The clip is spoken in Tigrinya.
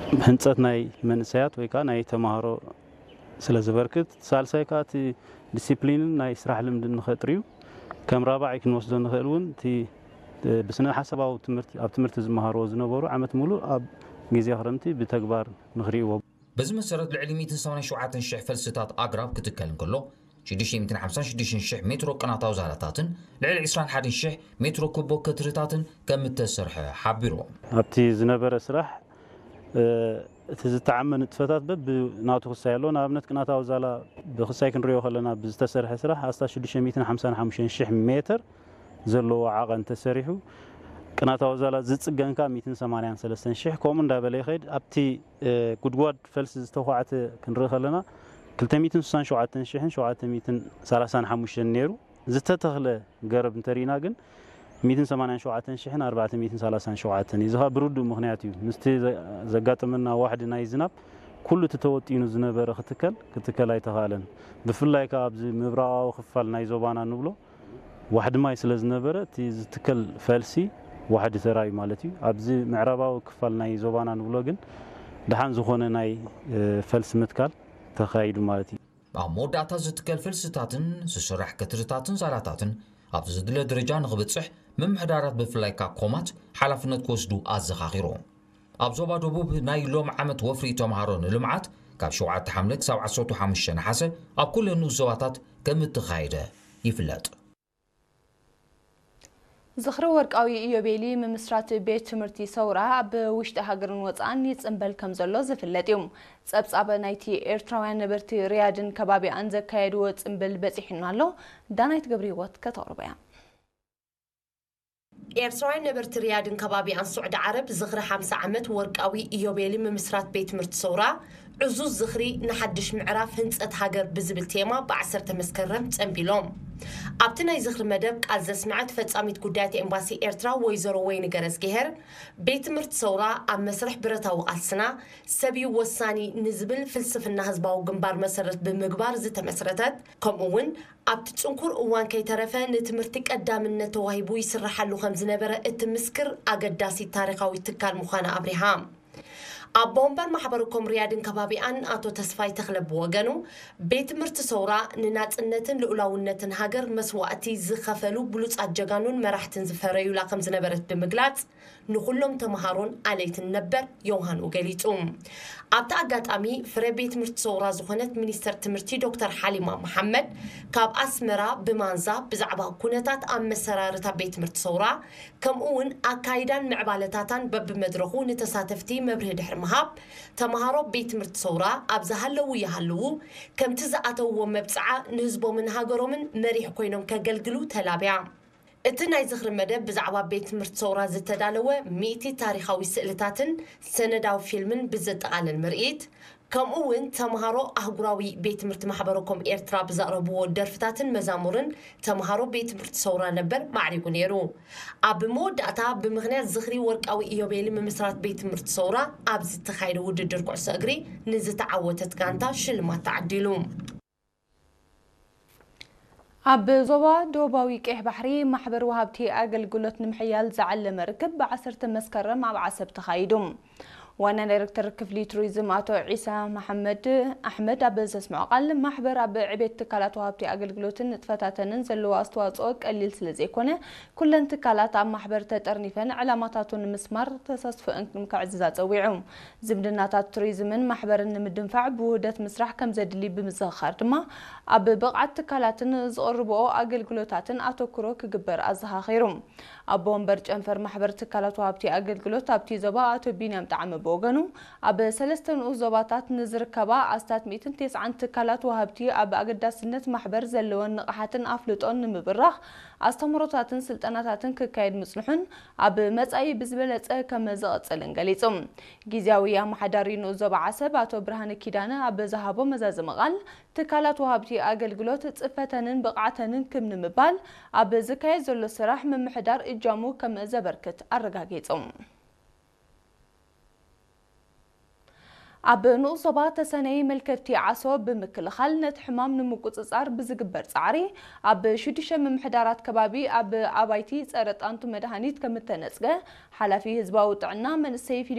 ህንፀት ናይ መንእሰያት ወይ ከዓ ናይ ተማሃሮ ስለ ዝበርክት፣ ሳልሳይ ከዓ እቲ ዲሲፕሊንን ናይ ስራሕ ልምድን ንኸጥርዩ ከም ራባዓይ ክንወስዶ ንኽእል እውን እቲ ብስነ ሓሳባዊ ትምህርቲ ኣብ ትምህርቲ ዝመሃርዎ ዝነበሩ ዓመት ሙሉእ ኣብ ግዜ ክረምቲ ብተግባር ንኽርእይዎ። በዚ መሰረት ልዕሊ ሚእትን ሰማንያን ሸውዓተን ሽሕ ፈልስታት ኣግራብ ክትከል እንከሎ ሽዱሽተ ሚእትን ሓምሳን ሽዱሽተን ሽሕ ሜትሮ ቅናታዊ ዛላታትን ልዕሊ ዕስራን ሓደን ሽሕ ሜትሮ ኩቦ ከትርታትን ከም እተሰርሐ ሓቢሩ። ኣብቲ ዝነበረ ስራሕ እቲ ዝተዓመ ንጥፈታት በብ ናቱ ክሳይ ኣሎ። ንኣብነት ቅናታዊ ዛላ ብክሳይ ክንሪኦ ከለና ብዝተሰርሐ ስራሕ ኣስታት ሽዱሽተ ሚእትን ሓምሳን ሓሙሽተን ሽሕ ሜትር ዘለዎ ዓቐን ተሰሪሑ፣ ቅናታዊ ዛላ ዝፅገን ከዓ ሚእትን ሰማንያን ሰለስተን ሽሕ ከምኡ እንዳበለ ይኸይድ። ኣብቲ ጉድጓድ ፈልሲ ዝተኳዕተ ክንርኢ ከለና ክልተ ሚእትን ስሳን ሸውዓተን ሽሕን ሸውዓተ ሚእትን ሰላሳን ሓሙሽተን ነይሩ። ዝተተኽለ ገረብ እንተሪእና ግን ሚእትን ሰማንያን ሸውዓተን ሽሕን ኣርባዕተ ሚእትን ሰላሳን ሸውዓተን እዩ። እዚ ከዓ ብርዱእ ምኽንያት እዩ። ምስቲ ዘጋጠመና ዋሕዲ ናይ ዝናብ ኩሉ እቲ ተወጢኑ ዝነበረ ክትከል ክትከል ኣይተኻእለን። ብፍላይ ከዓ ኣብዚ ምብራቓዊ ክፋል ናይ ዞባና ንብሎ ዋሕዲ ማይ ስለ ዝነበረ እቲ ዝትከል ፈልሲ ዋሕዲ ተራእዩ ማለት እዩ። ኣብዚ ምዕራባዊ ክፋል ናይ ዞባና ንብሎ ግን ደሓን ዝኾነ ናይ ፈልሲ ምትካል ተኻይዱ ማለት እዩ። ኣብ መወዳእታ ዝትከል ፈልስታትን ዝስራሕ ከትርታትን ዛላታትን ኣብ ዝድለ ደረጃ ንኽብፅሕ ምምሕዳራት ብፍላይ ካብ ኮማት ሓላፍነት ክወስዱ ኣዘኻኺሩ። ኣብ ዞባ ደቡብ ናይ ሎም ዓመት ወፍሪ ተምሃሮ ንልምዓት ካብ ሸውዓተ ሓምለ ክሳብ ዓሰርተ ሓሙሽተ ነሓሰ ኣብ ኩለን ንኡስ ዞባታት ከም እተኻየደ ይፍለጥ። ዝኽሪ ወርቃዊ ኢዮቤሊ ምምስራት ቤት ትምህርቲ ሰውራ ኣብ ውሽጢ ሃገርን ወፃእን ይፅምበል ከም ዘሎ ዝፍለጥ እዩ። ፀብፃብ ናይቲ ኤርትራውያን ነበርቲ ሪያድን ከባቢኣን ዘካየድዎ ፅምብል በፂሑና ኣሎ። ዳናይት ገብረ ህይወት ከተቕርቦ እያ። ኤርትራውያን ነበርቲ ሪያድን ከባቢኣን ስዑዲ ዓረብ ዝኽሪ ሓምሳ ዓመት ወርቃዊ ኢዮቤሊ ምምስራት ቤት ትምህርቲ ሰውራ ዕዙዝ ዝኽሪ ንሓድሽ ምዕራፍ ህንጸት ሃገር ብዝብል ቴማ ብዓሰርተ መስከረም ጸንቢሎም። ኣብቲ ናይ ዝኽሪ መደብ ቃል ዘስመዐት ፈጻሚት ጉዳያት ኤምባሲ ኤርትራ ወይዘሮ ወይኒ ገረዝግሄር፣ ቤት ትምህርቲ ሰውራ ኣብ መስርሕ ብረታዊ ቃልስና ሰብ እዩ ወሳኒ ንዝብል ፍልስፍና ህዝባዊ ግንባር መሰረት ብምግባር ዝተመስረተት፣ ከምኡ እውን ኣብቲ ጽንኩር እዋን ከይተረፈ ንትምህርቲ ቀዳምነት ተዋሂቡ ይስረሓሉ ከም ዝነበረ እትምስክር ኣገዳሲት ታሪኻዊት ትካል ምዃና ኣብሪሃ። ኣቦ ወንበር ማሕበረ ኮም ሪያድን ከባቢኣን ኣቶ ተስፋይ ተኽለ ብወገኑ፣ ቤት ትምህርቲ ሰውራ ንናጽነትን ልኡላውነትን ሃገር መስዋእቲ ዝኸፈሉ ብሉጻት ጀጋኑን መራሕትን ዝፈረዩላ ከም ዝነበረት ብምግላጽ፣ ንኹሎም ተምሃሮን ኣለይትን ነበር ዮውሃኑ ገሊጹ። ኣብቲ ኣጋጣሚ ፍረ ቤት ትምህርቲ ሰውራ ዝኾነት ሚኒስተር ትምህርቲ ዶክተር ሓሊማ መሓመድ ካብ ኣስመራ ብማንዛ ብዛዕባ ኩነታት ኣመሰራርታ ቤት ትምህርቲ ሰውራ ከምኡ እውን ኣካይዳን ምዕባለታታን በብመድረኹ ንተሳተፍቲ መብርሂ ድሕሪ ምሃብ፣ ተምሃሮ ቤት ትምህርቲ ሰውራ ኣብ ዝሃለዉ ይሃልዉ ከምቲ ዝኣተውዎ መብጽዓ ንህዝቦምን ሃገሮምን መሪሕ ኮይኖም ከገልግሉ ተላብያ። እቲ ናይ ዝኽሪ መደብ ብዛዕባ ቤት ትምህርቲ ሰውራ ዝተዳለወ ሚእቲ ታሪኻዊ ስእልታትን ሰነዳዊ ፊልምን ብዘጠቓልል ምርኢት፣ ከምኡ እውን ተምሃሮ ኣህጉራዊ ቤት ትምህርቲ ማሕበረ ኮም ኤርትራ ብዘቕረብዎ ደርፍታትን መዛሙርን ተምሃሮ ቤት ትምህርቲ ሰውራ ነበር ማዕሪጉ ነይሩ። ኣብ መወዳእታ ብምኽንያት ዝኽሪ ወርቃዊ ኢዮቤሊ ምምስራት ቤት ትምህርቲ ሰውራ ኣብ ዝተኻየደ ውድድር ኩዕሶ እግሪ ንዝተዓወተት ጋንታ ሽልማት ተዓዲሉ። ኣብ ዞባ ደቡባዊ ቀይሕ ባሕሪ ማሕበር ወሃብቲ ኣገልግሎት ንምሕያል ዝዓለመ ርክብ ብዓሰርተ መስከረም ኣብ ዓሰብ ተኻይዱ። ዋና ዳይሬክተር ክፍሊ ቱሪዝም ኣቶ ዒሳ መሓመድ ኣሕመድ ኣብ ዘስምዖ ቃል፣ ማሕበር ኣብ ዕቤት ትካላት ወሃብቲ ኣገልግሎትን ንጥፈታተንን ዘለዎ ኣስተዋፅኦ ቀሊል ስለ ዘይኮነ፣ ኩለን ትካላት ኣብ ማሕበር ተጠርኒፈን ዕላማታቱ ንምስማር ተሳትፎአን ከዕዝዛ ፀዊዑ። ዝምድናታት ቱሪዝምን ማሕበርን ንምድንፋዕ ብውህደት ምስራሕ ከም ዘድሊ ብምዝኽኻር ድማ፣ ኣብ ብቕዓት ትካላትን ዝቕርብኦ ኣገልግሎታትን ኣተኩሮ ክግበር ኣዘኻኺሩ። ኣቦ ወንበር ጨንፈር ማሕበር ትካላት ወሃብቲ ኣገልግሎት ኣብቲ ዞባ ኣቶ ቢንያም ጣዕመ ብወገኑ፣ ኣብ ሰለስተ ንኡስ ዞባታት ንዝርከባ ኣስታት ሚእትን ተስዓን ትካላት ወሃብቲ ኣብ ኣገዳስነት ማሕበር ዘለወን ንቕሓትን ኣፍልጦን ንምብራኽ ኣስተምህሮታትን ስልጠናታትን ክካየድ ምጽንሑን ኣብ መጻኢ ብዝበለጸ ከም ዝቕጽልን ገሊጹ። ግዝያዊ ኣመሓዳሪ ንኡስ ዞባ ዓሰብ ኣቶ ብርሃነ ኪዳነ ኣብ ዝሃቦ መዛዘሚ ቃል፣ ትካላት ወሃብቲ ኣገልግሎት ጽፈተንን ብቕዓተንን ክብ ንምባል ኣብ ዝካየድ ዘሎ ስራሕ ምምሕዳር እጃሙ ከም ዘበርክት ኣረጋጊጹ። ኣብ ንኡስ ዞባ ተሰነይ መልከፍቲ ዓሶ ብምክልኻል ነቲ ሕማም ንምቁጽጻር ብዝግበር ጻዕሪ ኣብ ሽዱሽተ ምምሕዳራት ከባቢ ኣብ ኣባይቲ ጸረ ጣንቱ መድሃኒት ከም እተነጽገ ሓላፊ ህዝባዊ ጥዕና መንእሰይ ፊሊሞን